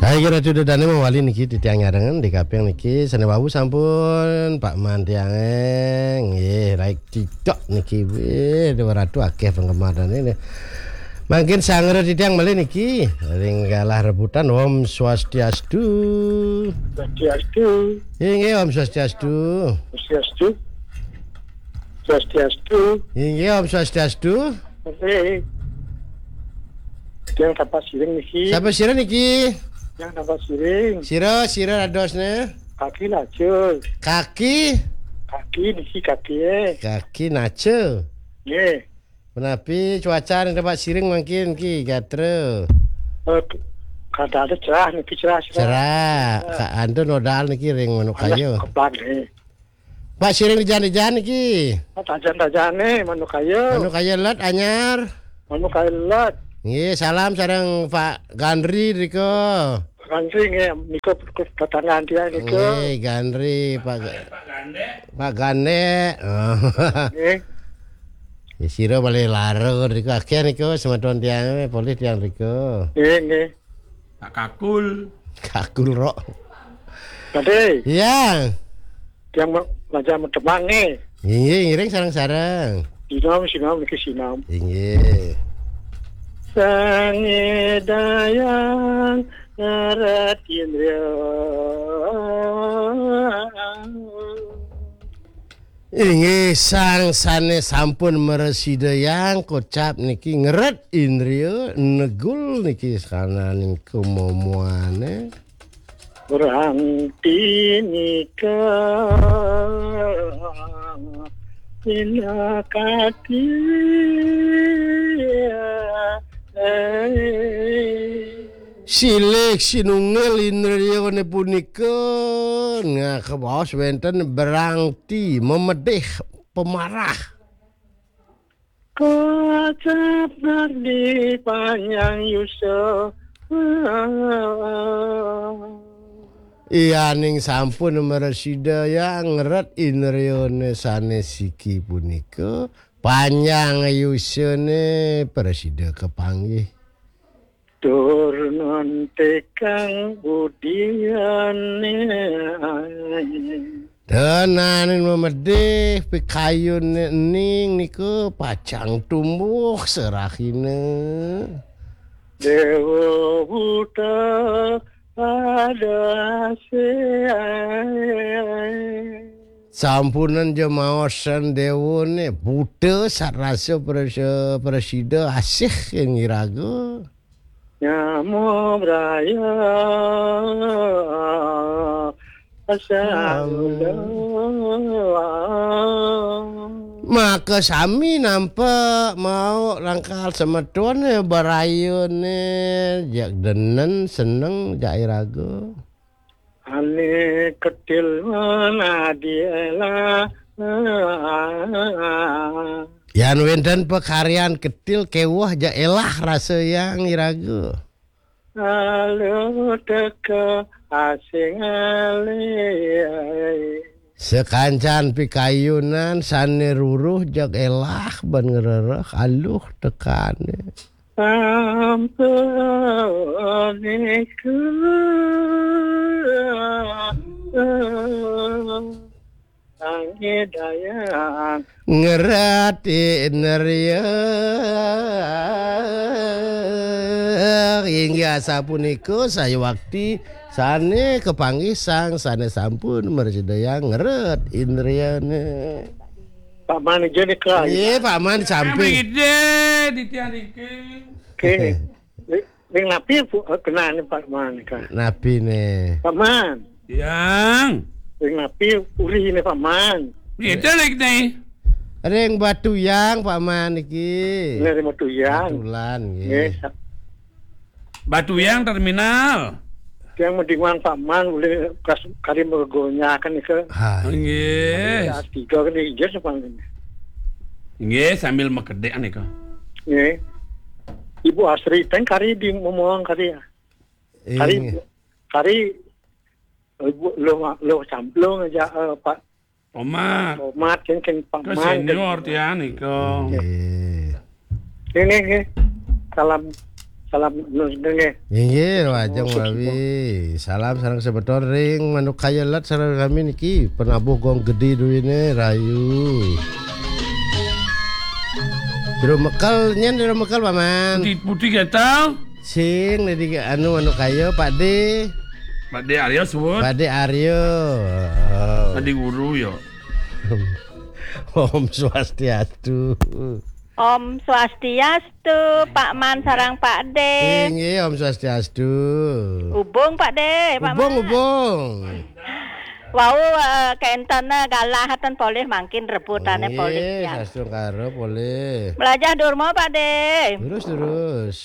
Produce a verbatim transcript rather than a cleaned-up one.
Hai, kira tu dah dane mawali niki titiang nyarengan di kaping niki sane wau sampun Pak Man tiange nggih, like TikTok niki weh, dua ratus akeh penggemar dan ini. Mangkin sangera titiang malih niki ring galah rebutan. Om Swastiastu. Swastiastu. Inggih, Om Swastiastu. Swastiastu. Swastiastu. Inggih, Om Swastiastu. Oke. Yang sapa siring niki? Sapa sira niki? Yang sapa siring? Sira, sira dadosne? Kaki lacur. Kaki? Kaki niki kaki, eh. Kaki naca. Nggih. Menapi cuaca ning tempat siring mangkin ki gatra? Eh, kada ada cerah niki, cerah, cerah. Cerah. Ka antu nodal niki ring manuk kaya. Kebak nggih. Pak siring dijan-dijan niki. Tajan-tajane manuk kaya. Manuk kaya let anyar. Manuk kaya let. Nggih, salam sareng Pak Gandri rika. Gandri nggih, nika tetanggaan tiang nika. Nggih, Gandri, Pak Ga-, Pak Gandek. Oh. Nggih. Ya, sira malih lara rika, akeh nika semeton tiang, polih tiang rika. Nggih, nggih. Pak Kakul. Kakul, Rok. Tadi. Iya. Tiang ma-, majang temang nggih. Inggih, ngiring sareng-sareng. Sinom, sinom, niki sinom. Inggih. Sang Hyang ngerat indriya. Inggih, sang sane sampun mresida yang kocap niki ngeret indriya, negul niki sananing kemomoane. Berhenti nika pinakati. Silih sinunggil indriyane punika, nah, kabaos wenten berangti, memedih, pemarah. Kocap negdi panjang yusa. Iyaning sampun mresida yang ngeret indriyane sane siki punika, panjang yusane prasida kapanggih. Tur nontekang budiane. Tenanin memedih pikayune ening niku pacang tumbuh serahina. Dewa buta pada asih. Sampunan jemaosan dewane buta sarasa prasa-, prasida asih ing iraga. Nyama braya asal. Maka sami nampa mau rangkal semetone barayane jak denen seneng jak iraga. Ane ketil manadi elah. Yan wenten pakaryan ketil keweh ja elah rasa yang iraga. Lalu teka asing alih. Sekancan pikayunan sane ruruh jag elah ban ngrereh aluh tekane. Sampun iku Sang Hyang. Ngerati nerya. Inggih asapunika sayuwakti sane kapanggih sang sane sampun mrasidayang ngeret indriyane. Pak Man aja nih, Kak. Iya, Pak Man samping. Kami gede di tiang iki. Oke. Ring napi pu-, eh, kenane Pak Man, Kak? Napi ne? Pak Man. Yang. Ring napi uri ne Pak Man? Kita lagi nih. Ring Batu Yang, Pak Man iki. Ini ring Batu Yang. Batulan, nggih. Nggih, sa- Batu Yang terminal. Yang mendingan Pak Man boleh kas-, kari mergonyakan nika. Ha, nggih. Ada tiga kan, iya, Pak. Nggih, sambil makedek nika. Nggih. Ibu Asri, teng kari di momong kari ya. Kari, inggih. Kari, eh, Bu, lo, lo samplung aja, eh, Pak Tomat. Tomat, keng, keng Pak Man, senior keng tiang nika. Nggih. Nggih, nggih, nggih. Salam, Salam nggih. Inggih, wajeng wawi. Salam sareng semeton ring Manuk Kaya Let sareng kami niki penabuh gong gedé duwéné rahayu. Jero Mekel, nyén Jero Mekel, Paman. Putih, putih gatal. Sing, tadi anu, anu kaya, Pak Dé. Pak Dé Arya suwun. Pak Dé Arya. Heeh. Tadi guru ya. Om Swastiastu. Om Swastiastu, Pak Man sareng Pak Dé. Inggih, Om Swastiastu. Hubung, Pak Dé, Pak Hubung, Man. Hubung. Wau, eh, kenten, eh, galah ten polih mangkin rebutane polih, ya. Sastu karo polih. Melajah durma, Pak Dé. Terus, terus.